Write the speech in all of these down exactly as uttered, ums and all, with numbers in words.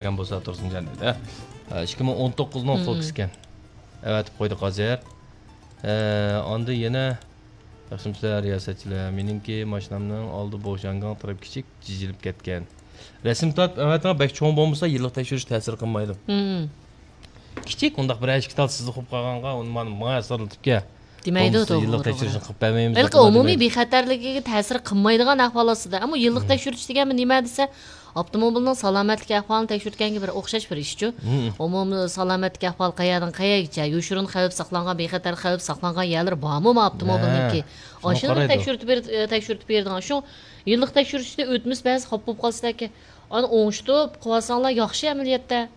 بەرگەن بولسا تۇرسۇنجان دېدى. ھە، ئىككى مىڭ ئون توققۇزنىڭ فوكسكەن. ئەۋەتىپ قويدۇق ھازىر. ھە، ئاندىن يەنە ياخشىمۇسىلەر رىياسەتچىلەر؟ مېنىڭكى ماشىنامنىڭ ئالدى بوشانگاڭ تەرەپ كىچىك جىجىلىپ كەتكەن. رەسىم تارتىپ ئەۋەتىڭ، بەك چوڭ بولمىسا يىللىق تەكشۈرۈش تەسىر قىلمايدۇ. كىچىك، ئۇنداق بىر ئىككى تال سىزىق بولۇپ قالغانغا ئۇنى مانا ماڭا سارلىتىپ كەل. دېمەيدۇ، بولمىسا توغرا، يىللىق توغرا. تەكشۈرۈشنى قىلىپ بەرمەيمىز ھېلىقى دەپ ئۇنداق ئومۇمىي دېمەيدۇ. بىخەتەرلىكىگە تەسىر قىلمايدىغان ئەھۋال ئاستىدا. ئەمما يىللىق تەكشۈرتۈش دېگەن نېمە دېسە، ئاپتوموبىلنىڭ سالامەتلىك ئەھۋالىنى تەكشۈرتكەنگە بىر ئوخشاش بىر ئىشچۇ. ئومۇمىي سالامەتلىك ئەھۋالى قەيەردىن قەيەرگىچە، يوشۇرۇن خەۋپ ساقلانغان، بىخەتەر خەۋپ ساقلانغان يەرلىرى بارمۇ ما ئاپتوموبىلنىڭكى؟ ھە، شۇنى ئاشۇنى قارايدۇ. تەكشۈرتۈپ بېرىپ، تەكشۈرتۈپ بېرىدىغان. شۇ يىللىق تەكشۈرتۈشتە ئۆتمىسە بەزى خاپا بولۇپ قالسىدەكى. ئانا ئوڭشىتىپ قىلىۋالساڭلار ياخشى ئەمەلىيەتتە.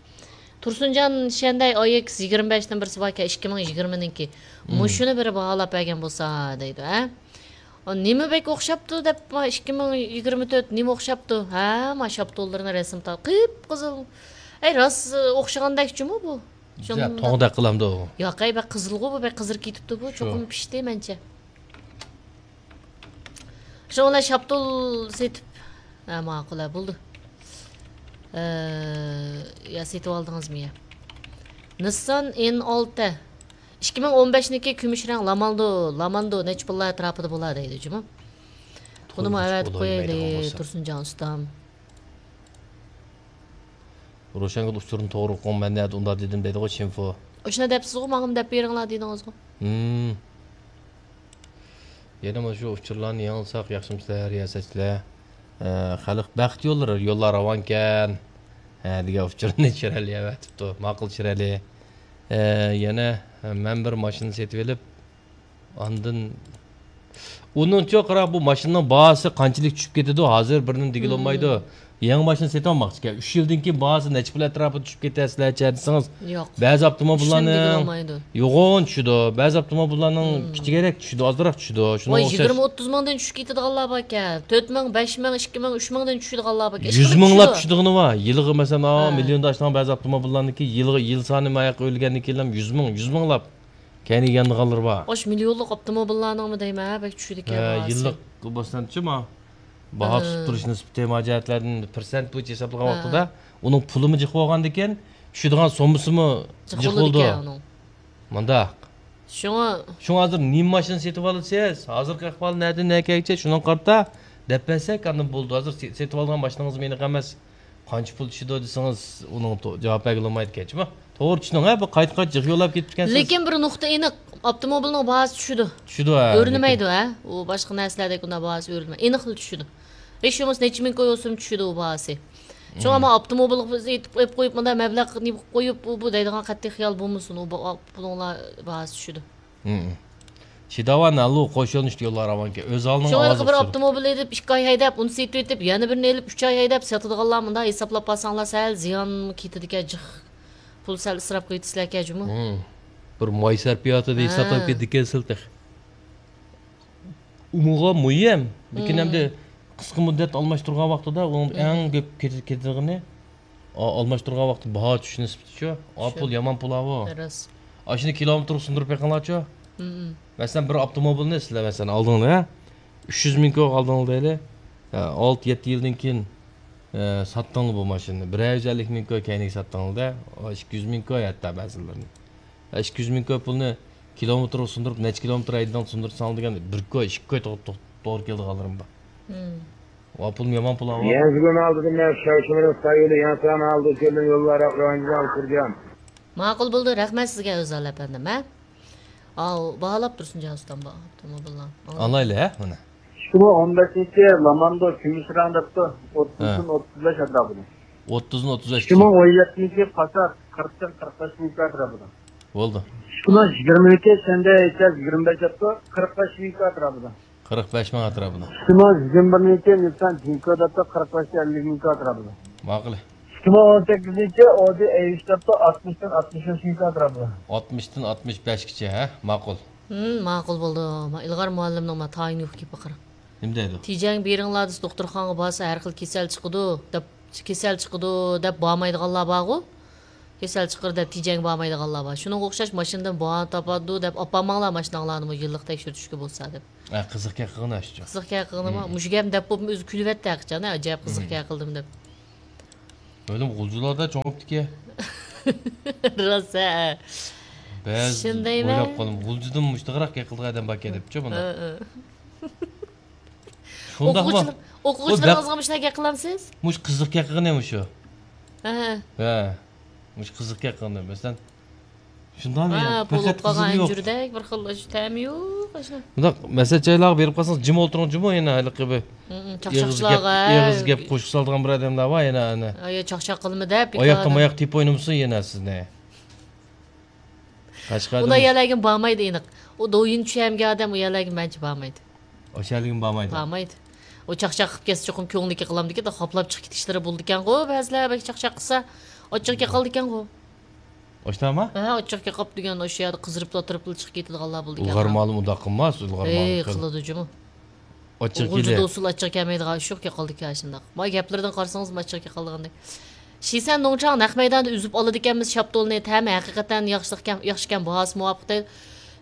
تۇرسۇنجان شەندەي ئايېكس يىگىرمە بەشتىن بىرسى باركەن، ئىككى مىڭ يىگىرمىنىڭكى. مۇشۇنى بىرى باھالاپ بەرگەن بولسا دەيدۇ، ھە؟ نېمە بەك ئوخشاپتۇ دەپ، ما ئىككى مىڭ يىگىرمە تۆت نېمە ئوخشاپتۇ؟ ھە، ما شاپتۇللىرىنى رەسىم تارت، قىپقىزىل. ئەي، راست ئوخشىغاندەك جۇمۇ بۇ. شۇنداق. توڭدەك قىلامدۇ ئۇ. ياق، ئەي، بەك قىزىلغۇ بۇ، بەك قىزىرىپ كېتىپتۇ بۇ. شۇ. چوقۇم پىشتى مەنچە. شۇڭا شاپتۇل سېتىپ، ھە، ماقۇل، ھە، بولدى. ئە، يا سېتىۋالدىڭىزمۇ يا؟ نىسسان ئېن ئالتە. ئىككى مىڭ ئون بەشنىڭكى كۈمۈش رەڭ لاماندو، لاماندو نەچچە پۇللار ئەتراپىدا بولا دەيدۇ جۇمۇ. بۇنىمۇ ئەۋەتىپ قويايلى، تۇرسۇنجان ئۇستام. روشەنگۈل ئۇچۇرنى توغرا ئوقۇڭ، مەن نەدە ئۇنداق دېدىم دەيدىغۇ، چىنفو. ئاشۇنداق دەپسىزغۇ، ماڭىمۇ دەپ بېرىڭلار دېدىڭىزغۇ. ھىم. يەنە مانا شۇ ئۇچۇرلارنى ياڭلىساق ياخشىمۇسىلەر، رىياسەتچىلەر؟ ئە، خەلق بەخت يوللىرى، يوللار راۋانكەن، ھە، دېگەن ئۇچۇرنى چۈشۈرەلى ئەۋەتىپتۇ. ماقۇل، چۈشۈرەلى. ئە، يەنە، ئە، مەن بىر ماشىنا سېتىۋېلىپ، ئاندىن ئۇنىڭچۇ قارا، بۇ ماشىنىنىڭ باھاسى قانچىلىك چۈشۈپ كېتىدۇ، ھازىر بىرنېمە دېگىلى بولمايدۇ. يېڭى ماشىنا سېتىۋالماقچىكەن. ئۈچ يىلدىن كېيىن باھاسى نەچچە پۇل ئەتراپىدا چۈشۈپ كېتەرسىلەرچە دېسىڭىز، ياق. بەزى ئاپتوموبىللارنىڭ يوغان چۈشىدۇ، بەزى ئاپتوموبىللارنىڭ كىچىكرەك چۈشىدۇ، ئازراق چۈشىدۇ. شۇنىڭغا ئوخشاش. يىگىرمە ئوتتۇز مىڭدىن چۈشۈپ كېتىدىغانلار باركەن. تۆت مىڭ، بەش مىڭ، ئىككى مىڭ، ئۈچ مىڭدىن چۈشىدىغانلار باركەن. يۈز مىڭلاپ چۈشىدىغىنى بار. يىلىغا مەسىلەن، مىليوندا ئاشىدىغان بەزى ئاپتوموبىللارنىڭكى يىلىغا، يىل سانى ماياققا ئۆلگەندىن كېيىنلا يۈز مىڭ، يۈز مىڭلاپ. كەينىگە يانىدىغانلىرى بار. ئاشۇ مىليونلۇق ئاپتوموبىللارنىڭمۇ دەيمەن، ھە، بەك چۈشىدىكەن ھە، باھاسى. يىللىق بولسامچۇ، ما، باھا ئە. تۇتۇپ تۇرۇش نىسبىتى، تېما جەھەتلەردىن پىرسەنت بويىچە ھېسابلىغان ھە. ۋاقتىدا، ئۇنىڭ پۇلىمۇ جىق بولغاندىكىن، چۈشىدىغان سوممىسىمۇ جىق جىق بولىدۇ. بولىدىكەن ئۇنىڭ. مۇنداق. شۇڭا. شۇڭا ھازىر نېمە ماشىنا سېتىۋالىسىز؟ ھازىرقى ئەھۋال نەدىن نەگىچە؟ شۇنىڭغا قارىتا دەپ بەرسەك، ئاندىن بولىدۇ. ھازىر سېتىۋالغان ماشىنىڭىزمۇ ئېنىق ئەمەس. قانچە پۇل چۈشىدۇ دېسىڭىز، ئۇنىڭغا تو-، جاۋاب بەرگىلى بولمايدىكەن، جۇمۇ. توغرا چۈشىنىڭ، ھە، بۇ قايتا-قايتا جىق يوللاپ كېتىپكەنسىز. لېكىن بىر نۇقتا ئېنىق، ئاپتوموبىلنىڭ باھاسى چۈشىدۇ. چۈشىدۇ، ھە، ئۆرلىمەيدۇ، لېكىن. ھە، ئۇ باشقا نەرسىلەردەك ئۇنداق باھاسى ئۆرلىمەيدۇ. ئېنىقلا چۈشىدۇ. ھېچ بولمىسا نەچچە مىڭ كوي بولسىمۇ چۈشىدۇ ئۇ باھاسى. شۇڭا مانا ئاپتوموبىلغا بىز ئېيتىپ قويۇپ، قويۇپ، مۇنداق مەبلەغ نېمە قىلىپ قويۇپ، ئۇ، بۇ دەيدىغان قەتئىي خىيال بولمىسۇن، ئۇ با-، پۇلۇڭلار باھاسى چۈشىدۇ. شىداۋان ھەلۇ قوشۇلۇشتا يوللار راۋانكەن. ئۆز ھالىنىڭ شۇڭا ئاۋازى بىر چىقىدۇ. ئاپتوموبىل ئېلىپ، ئىككى ئاي ھەيدەپ، ئۇنى سېتىۋېتىپ، يەنە بىرىنى ئېلىپ، ئۈچ ئاي ھەيدەپ ساتىدىغانلار مۇنداق ھېسابلاپ بارساڭلار، سەل زىيان كېتىدىكەن، جىق. پۇل سەل ئىسراپ قىلىۋېتىسىلەركەن جۇمۇ. ھىم. بىر ماي سەرپىياتىدا ھە. ھېسابلاپ كېتىدىكەنسىلەر تېخى. ئۇمۇغا مۇھىم. لېكىن ھىم. ئەمدى قىسقا مۇددەت ئالماشتۇرغان ۋاقتىدا ئۇنىڭ ھىم. ئەڭ كۆپ كېتىدىغىنى ئا-، ئالماشتۇرغان ۋاقتى باھا چۈشۈش نىسبىتىچۇ؟ ئا، شۇ. پۇل يامان پۇل ئاۋۇ. راست. ئاشۇنى كىلومېتىرغا سۇندۇرۇپ بېقىڭلارچۇ؟ مم. مەسىلەن، بىر ئاپتوموبىلنى سىلەر، مەسىلەن، ئالدىڭلار، ھە؟ ئۈچ يۈز مىڭ كوي ئالدىڭلار دەيلى. ھە، ئالتە، يەتتە يىلدىن كېيىن، ئە، ساتتىڭلار بۇ ماشىنىنى. بىر يۈز ئەللىك مىڭ كوي كەينىگە ساتتىڭلار-دە. ئىككى يۈز مىڭ كوي ھەتتا بەزىلىرىنى. ئە، ئىككى يۈز مىڭ كوي پۇلنى كىلومېتىرغا سۇندۇرۇپ، نەچچە كىلومېتىر ھەيدىدىڭ سۇندۇرساڭ دېگەن، بىر كوي، ئىككى كوي توغرا، توغرا، توغرا كېلىدىغانلىرىم بار. مم. ۋا پۇلمۇ يامان پۇل ئاۋۇ. يەنە بۈگۈن ئالدىدا مەن شاۋشىمىنىڭ سايولى يەنە سان ئالدىدا كۆردۈم، يوللار ئاقرىغانجىدا ئالدىرىدىغان. ماقۇل بولدى، رەھمەت سىزگە ئۆزال ئەپەندىم، ھە؟ ئاۋۇ، باھالاپ تۇرسۇن جان ئۇستام بۇ ئاپتوموبىلنى. ئالايلى، ھە، بۇنى. ئىككى مىڭ ئون بەشىنچى لاماندو كۈمۈش رەڭ دەپتۇ، ھە. ئوتتۇزدىن ئوتتۇز بەش ئەتراپىدا. ئوتتۇزدىن ئوتتۇز بەش. ئىككى مىڭ ئون يەتتىنچى پاسات قىرىقتىن قىرىق بەش مىڭ ئەتراپىدا. بولدى. ئىككى مىڭ يىگىرمىنىڭكى شەندەي ئېيتساز يىگىرمە بەش دەپتۇ، قىرىق بەش مىڭ ئەتراپىدا. قىرىق بەش مىڭ ئەتراپىدا. ئىككى مىڭ يىگىرمە بىرنىڭكى نىسسان جىنكو دەپتۇ، قىرىق بەش ئەللىك مىڭ ئەتراپىدا. ماقۇل. ئىككى مىڭ ئون سەككىزىنچى ئودى ئەي ئۈچ دەپتۇ، ئاتمىشتىن ئاتمىش بەش مىڭ ئەتراپىدا. ئاتمىشتىن ئاتمىش بەشكىچە، ھە؟ ماقۇل. ھىم، ماقۇل بولدى. ما ئىلغار مۇئەللىمنىڭ ما تايىنى يوق گېپى قارا. نېمە دەيدۇ؟ تېجەڭگە بېرىڭلار دېسە، دوختۇرخانىغا بارسا ھەر خىل كېسەل چىقىدۇ دەپ، كېسەل چىقىدۇ دەپ بارمايدىغانلار بارغۇ. كېسەل چىقىر دەپ تېجەڭگە بارمايدىغانلار بار. شۇنىڭغا ئوخشاش ماشىنىدىن باھانە تاپىدۇ دەپ ئاپارماڭلار ماشىناڭلارنىمۇ يىللىق تەكشۈرتۈشكە بولسا دەپ. ھە، قىزىق گەپ قىلغىنى ئاشۇ. قىزىق گەپ قىلغىنىمۇ؟ مم. مۇشۇ گەپنى دەپ بولۇپمۇ ئۆزى كۈلۈۋەتتى ھەقىچان، ھە، ئەجەب قىزىق مم. گەپ قىلدىم دەپ. ئۆلۈم غۇلجىلاردا چوڭ بوپتىكەن. راست ھە. بەزى شۇندايمەن. ئويلاپ قالدىم، غۇلجىدىمۇ مۇشتىغىراق گەپ قىلىدىغان ئادەم باركەن دەپچۇ بۇنداق. ھە، ھە. شۇنداقمۇ؟ ئوقۇغۇچىلار، ئوقۇغۇچىلىرىڭىزغا مۇشۇنداق گەپ قىلامسىز؟ مۇشۇ قىزىق گەپ قىلغىنى مۇشۇ. ھە. ھە. مۇشۇ قىزىق گەپ قىلغىنى. مەسىلەن، شۇنداقمۇ يا؟ ھە، بۇغۇپ قالغان ئەنجۈردەك بىر خىل تەمى يوق ئاشۇ. بۇنداق مەسلىھەت جايلارغا بېرىپ قالسىڭىز، جىم ئولتۇرۇڭ جىمۇ يەنە ھېلىقى بىر ئېغىز گەپ، ئېغىز گەپ قوشۇق سالىدىغان بىر ئادەملەر بار يەنە ئەنە. ھە، يا چاقچاق قىلما دەپ. ئاياقتا ماياق تېپىپ ئوينىمىسۇن يەنە سىزنى. قەشقەردىمۇ؟ ئۇلار يەرلەرگە بارمايدۇ ئېنىق. ئۇ دويىن چۈشەنگەن ئادەم ئۇ يەرلەرگە مەنچە بارمايدۇ. ئاشۇ يەرلىگىمۇ بارمايدۇ. بارمايدۇ. ئۇ چاقچاق قىلىپ كەتسە چوقۇم كۆڭلى كېقىلامدىكىن، خاپلاپ چىقىپ كېتىشلىرى بولىدىكەنغۇ، بەزىلەر بەك چاقچاق قىلسا. ئاچچىقى كېقىلىدىكەنغۇ. ئاشۇنداقمۇ؟ ھە، ئاچچىقى كېقىپ دېگەن ئاشۇ يەردە قىزىرىپلا تۇرۇپلا چىقىپ كېتىدىغانلار بولىدىكەن. ئىلغار مۇئەللىم ئۇنداق قىلماس، ئىلغار مۇئەللىم قىل-، قىلىدۇ جۇمۇ. ئاچچىق غۇلجىدا كېلە. ئۇسسۇل ئاچچىق كەلمەيدىغان ئىش يوق، كېقىلدىكى ئاشۇنداق. ما گەپلىرىدىن قارىسىڭىز ئاچچىق كېقىلىدىغاندەك. شىسەن نوڭچاڭ نەق مەيداندا ئۈزۈپ ئالىدىكەنمىز شاپتۇلنى، تەمى ھەقىقەتەن ياخشىلىقكەن، ياخشىكەن، باھاسى مۇۋاپىق دەيدۇ.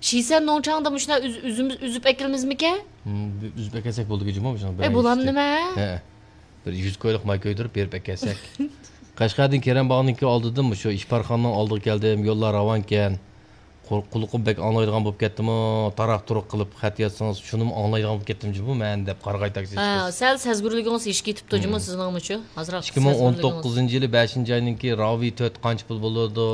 شىسەن نوڭچاڭدا مۇشۇنداق ئۈز-، ئۈزۈم-، ئۈزۈپ ئەكىلىمىزمىكەن؟ ھىم، ئۈزۈپ ئەكەلسەك بولىدىكەن جۇمۇ مۇشۇنىڭ بىر ئەي، بولامدۇ نېمە؟ ھە. بىر يۈز كويلۇق ماي كۆيدۈرۈپ بېرىپ ئەكەلسەك. قەشقەردىن كېرەم باغنىڭكى ئالدىدىن مۇشۇ ئىپارخانىنىڭ ئالدىغا كەلدىم، يوللار راۋانكەن. قۇ-، قۇلىقىم بەك ئاڭلايدىغان بولۇپ كەتتىمۇ، تاراق-تۇرۇق قىلىپ خەت يازسىڭىز، شۇنىمۇ ئاڭلايدىغان بولۇپ كەتتىم جۇمۇ مەن دەپ قارىغاي تاكسىچى قىز. ھە، سەل سەزگۈرلۈكىڭىز ئېشىپ كېتىپتۇ جۇمۇ سىزنىڭمۇچۇ؟ ئازراق سەزگۈرلۈكىڭىز. ئىككى مىڭ ئون توققۇزىنچى يىلى بەشىنچى ئاينىڭكى راۋى تۆت قانچە پۇل بولىدۇ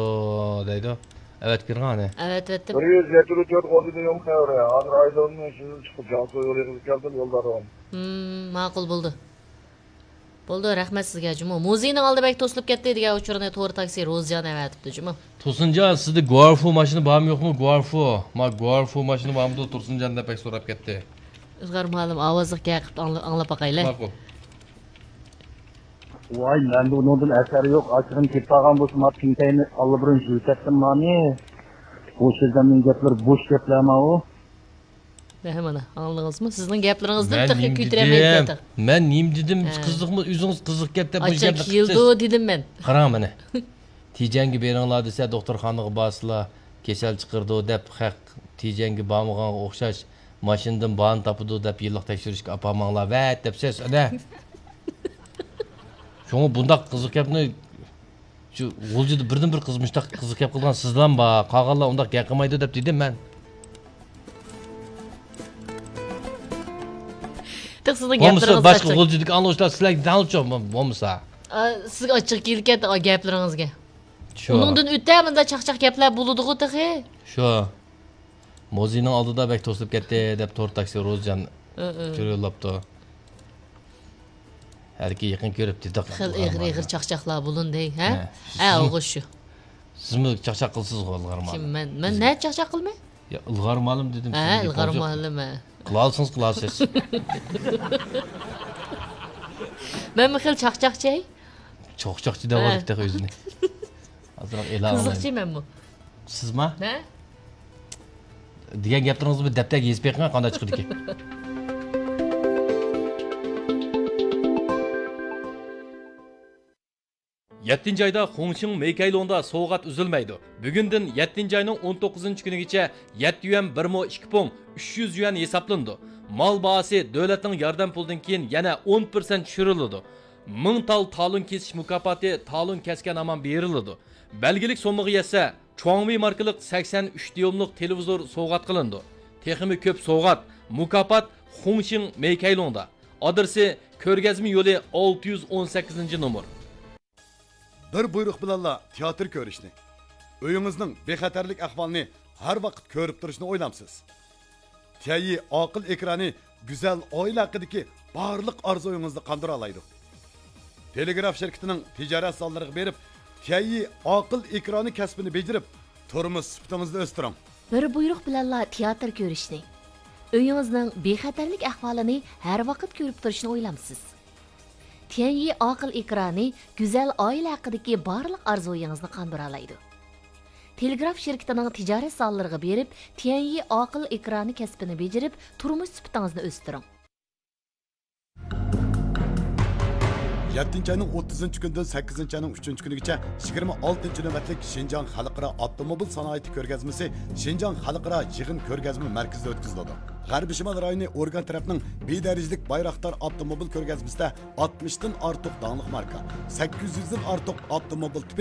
دەيدۇ. ئەۋەتىپ بېرىڭ ئانى. ئەۋەتىۋەتتىم. بىر يۈز يەتتە تۆت ئوردىنى يوق خەۋىرى. ھازىر ئايدىڭنىڭ ئىشىدىن چىقىپ، جياڭسۇ يولىغا كەلدىم، يولدا راۋان. ھىم، ماقۇل بولدى. بولدى، رەھمەت سىزگە جۇمۇ. مۇزېينىڭ ئالدى بەك توسۇلۇپ كەتتى دېگەن ئۇچۇرنى تور تاكسى روزىجان ئەۋەتىپتۇ جۇمۇ. تۇرسۇنجان، سىزدە گۇارفۇ ماشىنا بارمۇ يوقمۇ؟ گۇارفۇ. ما گۇارفۇ ماشىنا بارمىدۇ تۇرسۇنجان دەپ بەك سوراپ كەتتى. ئىلغار مۇئەللىم ئاۋازلىق گەپ قىلىپ ئاڭلا-، ئاڭلاپ باقايلى. ماقۇل. ۋاي، مەندە ئۇنىڭدىن ئەسەر يوق. ئاشۇغىنى كېتىپ قالغان بولسا، ما پىڭتەينى ئاللىبۇرۇن يۈزۈپ كەتتىم مانى. بوش ئادەمنىڭ گەپلىرى بوش گەپلەرما ئۇ. ھە، مانا، ئاڭلىدىڭىزمۇ؟ سىزنىڭ گەپلىرىڭىزدىن تېخى كۆتۈرەلمەيدىكەن. مەن نېمە دېدىم؟ ھە. قىزىقمۇ، ئۆزىڭىز قىزىق گەپ دەپ مۇشۇ گەپنى قىلىسىز. دېدىم مەن. قاراڭ مانا. تىجەنگە بېرىڭلار دېسە، دوختۇرخانىغا بارسىلا، كېسەل چىقىرىدۇ دەپ، خەق تىجەنگە بارمىغانغا ئوخشاش، ماشىنىدىن بارنى تاپىدۇ دەپ، يىللىق تەكشۈرۈشكە ئاپارماڭلار، ۋەت دەپسىز، ئەنە. شۇڭا بۇنداق قىزىق گەپنى شۇ غۇلجىدا بىردىن بىر قىز مۇشۇنداق قىزىق گەپ قىلىدىغان سىزلام بار، قالغانلار ئۇنداق گەپ قىلمايدۇ دەپ دېدىم مەن. تېخى سىزنىڭ بولمىسا گەپلىرىڭىز باشقا ئاچچىق. غۇلجىدىكى ئاڭلىغۇچىلار سىلەرگە دەڭلىچۇ بولمىسا. ئا، سىزگە ئاچچىق كېلىدىكەن، ئا، گەپلىرىڭىزگە. شۇ. ئۇنىڭدىن ئۆتە مۇنداق چاقچاق گەپلەر بولىدىغۇ تېخى. شۇ. مۇزېينىڭ ئالدىدا بەك توسۇلۇپ كەتتى دەپ تور تاكسى روزىجان ئۇچۇر يوللاپتۇ. ھەلىكى يېقىن كۆرۈپ دېدۇق. خېلى ئېغىر، ئېغىر چاقچاقلار بولۇندى، ھە؟ ھە. ھە، ئوغۇز شۇ. سىزمۇ چاقچاق قىلىسىزغۇ، ئىلغار مۇئەللىم. كىم، مەن، مەن نە چاقچاق قىلىمەن؟ يا، ئىلغار مۇئەللىم دېدىم. ھە، سىزگە ئىلغار مۇئەللىم، ھە. قىلالىسىڭىز قىلارسىز. مەنمۇ خېلى چاقچاقچى. چاقچاقچى دەۋاتىدۇ تېخى ئۆزىنى. ئازراق ئېلان قىزىقچى مەنمۇ. سىزما؟ ھە؟ دېگەن گەپلىرىڭىزنى بىر دەپتەرگە يېزىپ بېقىڭ، قانداق چىقىدىكى. يەتتىنچى ئايدا خۇڭشىڭ مېيكەيلۇڭدا سوۋغات ئۈزۈلمەيدۇ. بۈگۈندىن يەتتىنچى ئاينىڭ ئون توققۇزىنچى كۈنىگىچە يەتتە يۈەن بىر مو ئىككى پۇڭ ئۈچ يۈز يۈەن ھېسابلىنىدۇ. مال باھاسى دۆلەتنىڭ ياردەم پۇلىدىن كېيىن يەنە ئون پىرسەنت چۈشۈرۈلىدۇ. مىڭ تال تالون كېسىش مۇكاپاتى تالون كەسكەن ھامان بېرىلىدۇ. بەلگىلىك سوممىغا يەتسە، چۇاڭۋېي ماركىلىق سەكسەن ئۈچ دىيۇملۇق تېلېۋىزور سوۋغات قىلىنىدۇ. تېخىمۇ كۆپ سوۋغات، مۇكاپات خۇڭشىڭ مېيكەيلۇڭدا. ئادرېسى: كۆرگەزمە يولى ئالتە يۈز ئون سەككىزىنچى نومۇر. بىر بۇيرۇق بىلەنلا تىياتىر كۆرۈشنى، ئۆيىڭىزنىڭ بىخەتەرلىك ئەھۋالىنى ھەر ۋاقىت كۆرۈپ تۇرۇشنى ئويلامسىز؟ تيەنيى ئاقىل ئېكرانى گۈزەل ئائىلە ھەققىدىكى بارلىق ئارزۇيىڭىزنى قاندۇرالايدۇ. تېلېگراف شىركىتىنىڭ تىجارەت زاللىرىغا بېرىپ، تيەنيى ئاقىل ئېكرانى كەسپىنى بېجىرىپ، تۇرمۇش سۈپىتىڭىزنى ئۆستۈرۈڭ. بىر بۇيرۇق بىلەنلا تىياتىر كۆرۈشنى، ئۆيىڭىزنىڭ بىخەتەرلىك ئەھۋالىنى ھەر ۋاقىت كۆرۈپ تۇرۇشنى ئويلامسىز؟ تيەنيى ئاقىل ئېكرانى گۈزەل ئائىلە ھەققىدىكى بارلىق ئارزۇيىڭىزنى قاندۇرالايدۇ. تېلېگراف شىركىتىنىڭ تىجارەت زاللىرىغا بېرىپ، تيەنيى ئاقىل ئېكرانى كەسپىنى بېجىرىپ، تۇرمۇش سۈپىتىڭىزنى ئۆستۈرۈڭ. يەتتىنچى ئاينىڭ ئوتتۇزىنچى كۈنىدىن سەككىزىنچى ئاينىڭ ئۈچىنچى كۈنىگىچە يىگىرمە ئالتىنچى نۆۋەتلىك شىنجاڭ خەلقئارا ئاپتوموبىل سانائىتى كۆرگەزمىسى شىنجاڭ خەلقئارا يىغىن كۆرگەزمە مەركىزىدە ئۆتكۈزۈلىدۇ. غەربىي شىمال رايونى ئورگان تەرەپنىڭ بى دەرىجىلىك بايراقدار ئاپتوموبىل كۆرگەزمىسىدە ئاتمىشتىن ئارتۇق داڭلىق ماركا، سەككىز يۈزدىن ئارتۇق ئاپتوموبىل تىپى